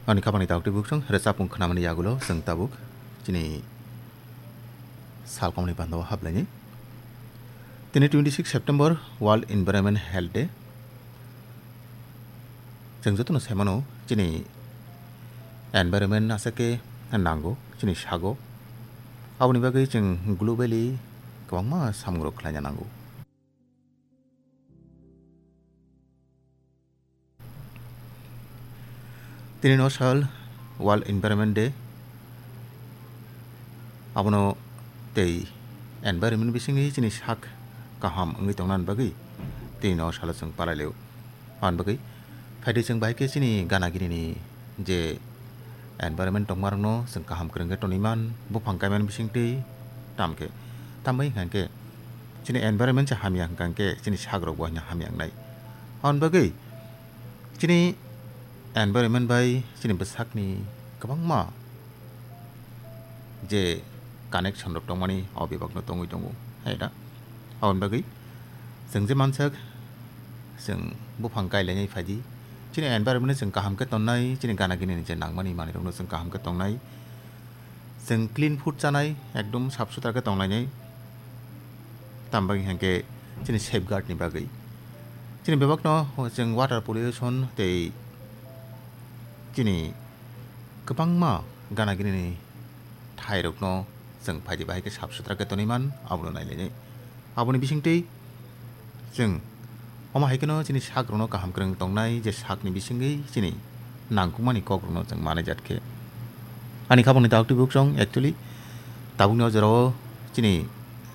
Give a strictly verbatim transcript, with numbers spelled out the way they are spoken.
Ani khapangni taktwi buksong rwchapmung khnamani yagulo chwng tabuk chini salkomni bandao hablaini. Tini twenty six September World Environment Health Day. Chwng jotono saimano chini environment aswk khe nango chini sago. Aboni bagwi chwng globally kwbangma samungrok khlaina nango. Tini no sal World Environment Day. Abono tei environment bisingni chini sak kaham wngwi tongnani bagwi tini no salo chwng palai lio. Aboni bagwi phaidi chwng bahai khe chini gana gini ni je environment tongmarokno chwng kaham kwrwng khe tonwi man, buphang kaimani bisingtwi tamo khe. Tambai hwnkha khe chini environment se hamya hwnkha khe chini sakrok bo hamya wngnai. Aboni bagwi chini environment bai chini bwsakni kwbangma je connection rok tongmani o bebakno tongwi tongo, hai da? Aboni bagwi chwng je mansak, chwng buphang kailainai phaidi, chini environment no chwng kaham khe tonnai, chini gana gini ni je nangmani manwi rokno chwng kaham khe tongnai, chwng clean food chanai, ekdom sap sutra khe tonglainai, tambai hwnkhe chini safeguard ni bagwi. Chini bebakno chwng water pollution tei chini kwbangma gana gini ni thairokno chwng phaidi bahai khe sap sutra khe tonwi man, abono nailainai. Aboni bisingtwi chwng omo hai kheno chini sakrokno kaham kwrwng tongnai, je sakni bisingwi chini nangkukmani kokrokno chwng manai jat khe. Ani khapangni taktwi buksong actually tabukni o jorao chini